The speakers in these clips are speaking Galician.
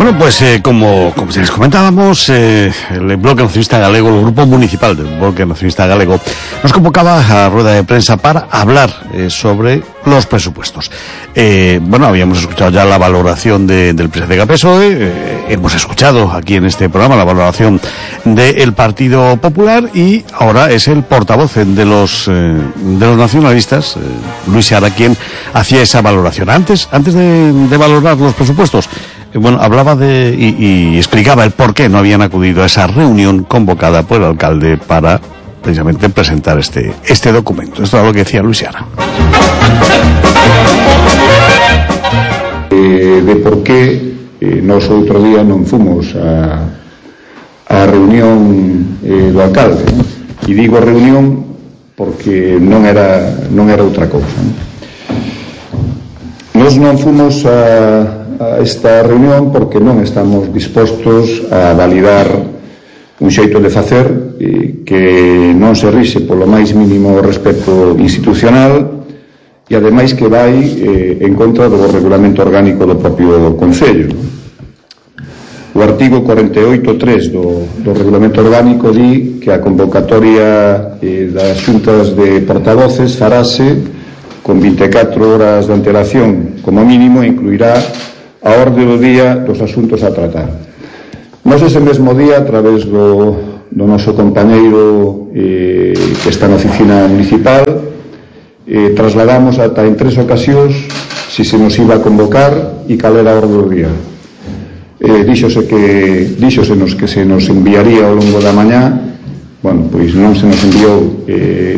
Bueno, pues como les comentábamos, el Bloque Nacionalista Galego, el Grupo Municipal del Bloque Nacionalista Galego, nos convocaba a rueda de prensa para hablar sobre los presupuestos. Bueno, habíamos escuchado ya la valoración del presidente del PSOE, hemos escuchado aquí en este programa la valoración del Partido Popular, y ahora es el portavoz de los nacionalistas, Luis Seara, quien hacía esa valoración. Antes de valorar los presupuestos, bueno, hablaba y explicaba el por qué no habían acudido a esa reunión convocada por el alcalde para precisamente presentar este documento. Esto es lo que decía Luis Seara. De por qué nós outro día non fomos a reunión do alcalde, ¿no? E digo reunión porque non era outra cousa, ¿no? Nós non fomos a esta reunión porque non estamos dispostos a validar un xeito de facer que non se rixe polo máis mínimo respeto institucional e ademais que vai en contra do regulamento orgánico do propio Concello. O artigo 48.3 do regulamento orgánico di que a convocatoria das xuntas de portavoces farase con 24 horas de antelación como mínimo e incluirá a orde do día dos asuntos a tratar. Nós ese mesmo día, a través do noso compañeiro que está na oficina municipal, trasladamos ata en 3 ocasións se nos iba a convocar e cal era a orde do día. Díxosenos que se nos enviaría ao longo da mañá. Bueno, pois non se nos enviou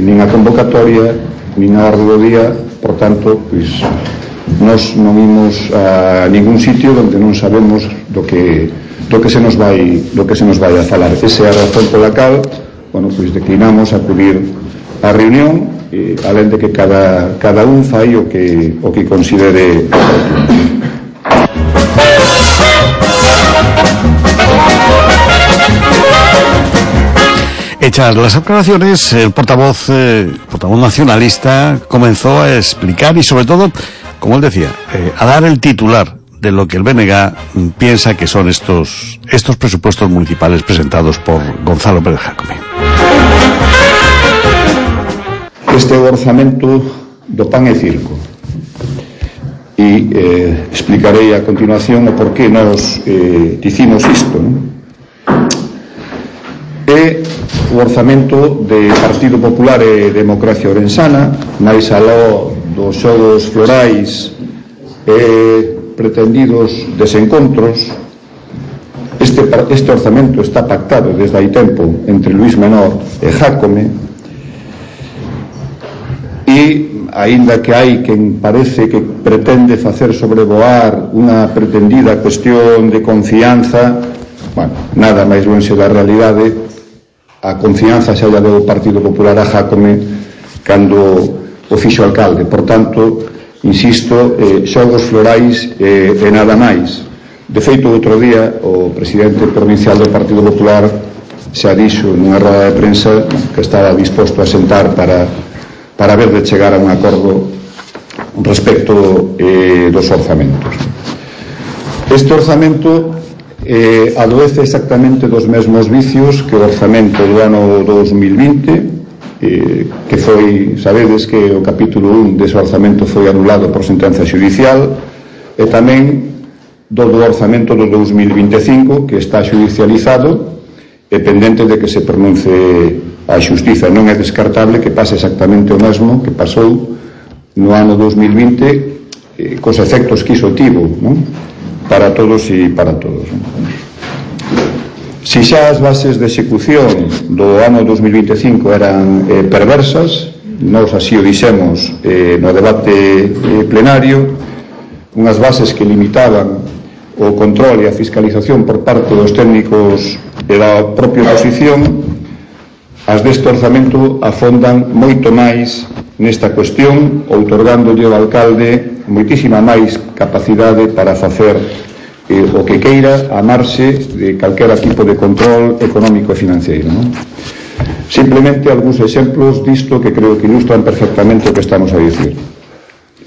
nin a convocatoria nin a orde do día, por tanto, pois nós non imos a ningún sitio onde non sabemos do que se nos vai a falar. Esa é a razón pola cal, bueno, pois declinamos acudir á reunión, alén de que cada un fai o que considere. Hechas las aclaraciones, el portavoz nacionalista comenzó a explicar y, sobre todo, como él decía, a dar el titular de lo que el BNG piensa que son estos presupuestos municipales presentados por Gonzalo Pérez Jácome. Este orzamento do pan e circo, e explicarei a continuación o porqué nos dicimos isto, non? É o orzamento de Partido Popular e Democracia Orensana, máis aló dos xogos florais e pretendidos desencontros. Este orzamento está pactado desde hai tempo entre Luís Menor e Jácome, e aínda que hai quen parece que pretende facer sobrevoar unha pretendida cuestión de confianza, bueno, nada máis lonxe da realidade. A confianza xa lla deu o Partido Popular a Jácome cando o fixo alcalde. Por tanto, insisto, xogos florais e nada máis. De feito, outro día o presidente provincial do Partido Popular xa dixo nunha roda de prensa que estaba disposto a sentar para ver de chegar a un acordo respecto dos orzamentos. Este orzamento adoece exactamente dos mesmos vicios que o orzamento do ano 2020, que foi, sabedes que o capítulo 1 dese orzamento foi anulado por sentenza xudicial, e tamén do orzamento do 2025, que está xudicializado e pendente de que se pronuncie a xustiza. Non é descartable que pase exactamente o mesmo que pasou no ano 2020, cos efectos que iso tivo, non? Para todos e para todos. Si xa as bases de execución do ano 2025 eran perversas, nós así o dixemos no debate plenario, unhas bases que limitaban o control e a fiscalización por parte dos técnicos e da propia oposición, as deste orzamento afondan moito máis nesta cuestión, outorgándolle ao alcalde moitísima máis capacidade para facer o que queira a marxe de calquera tipo de control económico e financeiro, non? Simplemente algúns exemplos disto que creo que ilustran perfectamente o que estamos a dicir.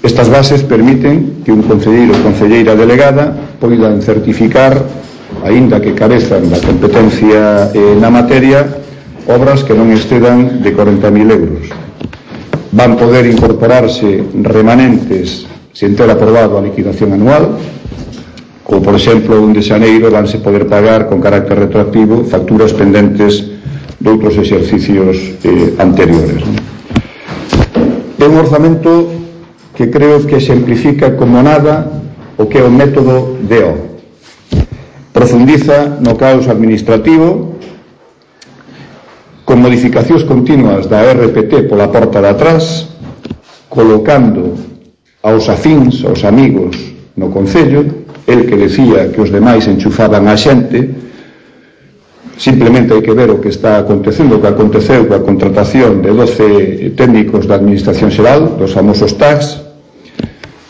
Estas bases permiten que un concelleiro ou concelleira delegada poidan certificar, aínda que carezan da competencia na materia, obras que non excedan de 40.000 euros. Van poder incorporarse remanentes sen ter aprobado a liquidación anual, ou, por exemplo, un de xaneiro vanse poder pagar con carácter retroactivo facturas pendentes de outros exercicios anteriores. É un orzamento que creo que exemplifica como nada o que é o método DO. Profundiza no caos administrativo, con modificacións continuas da RPT pola porta de atrás, colocando aos afíns, aos amigos no Concello, el que decía que os demais enchufaban a xente. Simplemente hai que ver o que está acontecendo, o que aconteceu coa contratación de 12 técnicos da Administración Xeral, dos famosos TACs.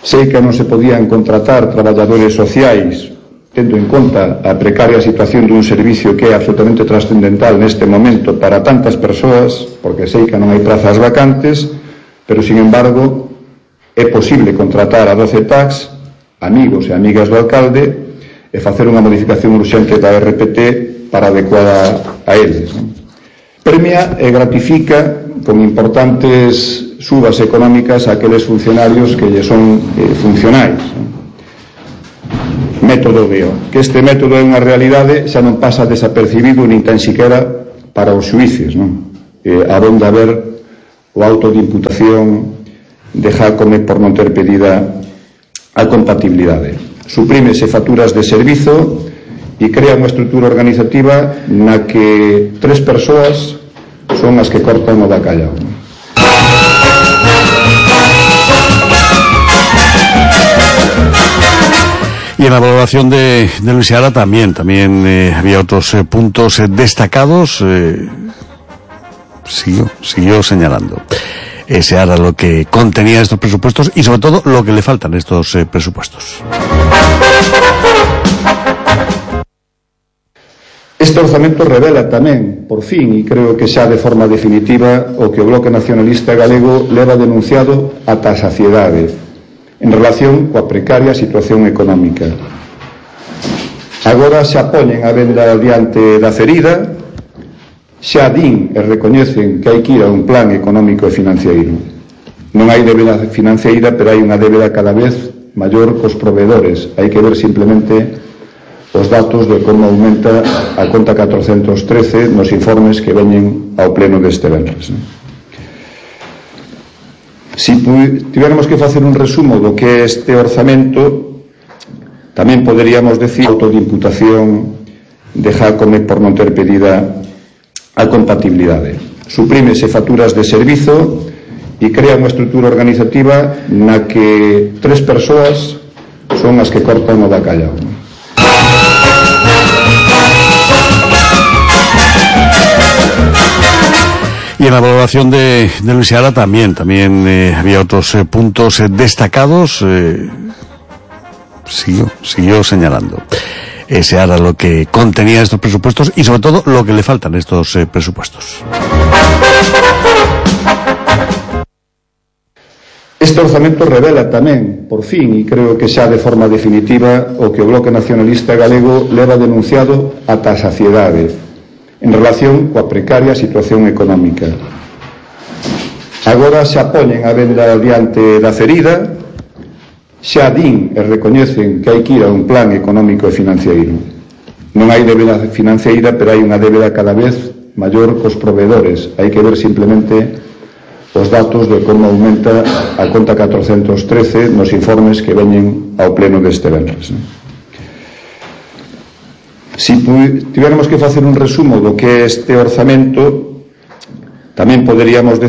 Sei que non se podían contratar traballadores sociais tendo en conta a precaria situación dun servicio que é absolutamente trascendental neste momento para tantas persoas, porque sei que non hai prazas vacantes, pero, sin embargo, é posible contratar a 12 TACs, amigos e amigas do alcalde, e facer unha modificación urxente da RPT para adecuada a eles. Premia e gratifica con importantes subas económicas a aqueles funcionarios que lle son funcionais. Método DO. Que este método é unha realidade xa non pasa desapercibido nin tan siquera para os xuíces, non? Abonda a ver o auto de imputación de Jácome por non ter pedida a compatibilidade. Suprímese facturas de servizo e crea unha estrutura organizativa na que 3 persoas son as que cortan o bacallau. Y en la valoración de Luis Seara también había otros puntos destacados. Siguió señalando Seara lo que contenía estos presupuestos y sobre todo lo que le faltan estos presupuestos. Este orzamento revela tamén, por fin, e creo que xa de forma definitiva, o que o Bloque Nacionalista Galego leva denunciado ata a saciedade en relación coa precaria situación económica. Agora xa poñen a venda diante da ferida, xa din e recoñecen que hai que ir a un plan económico e financiero. Non hai débeda financeira, pero hai unha débeda cada vez maior cos proveedores. Hai que ver simplemente os datos de como aumenta a conta 413 nos informes que veñen ao pleno deste venres. Si tivermos que facer un resumo do que é este orzamento, tamén poderíamos decir auto de imputación de Jácome por non ter pedida a compatibilidade. Suprímese facturas de servizo e crea unha estrutura organizativa na que 3 persoas son as que cortan o bacallau. Y en la valoración de Luis Seara también había otros puntos destacados. Siguió señalando Seara lo que contenía estos presupuestos y sobre todo lo que le faltan estos presupuestos. Este orzamento revela tamén, por fin, e creo que xa de forma definitiva, o que o Bloque Nacionalista Galego leva denunciado ata a saciedade en relación coa precaria situación económica. Agora xa poñen a venda diante da ferida, xa din e recoñecen que hai que ir a un plan económico e financiero. Non hai débeda financeira, pero hai unha débeda cada vez maior cos proveedores. Hai que ver simplemente os datos de como aumenta a conta 413 nos informes que veñen ao pleno deste venres. Si tivermos que facer un resumo do que é este orzamento, tamén poderíamos decir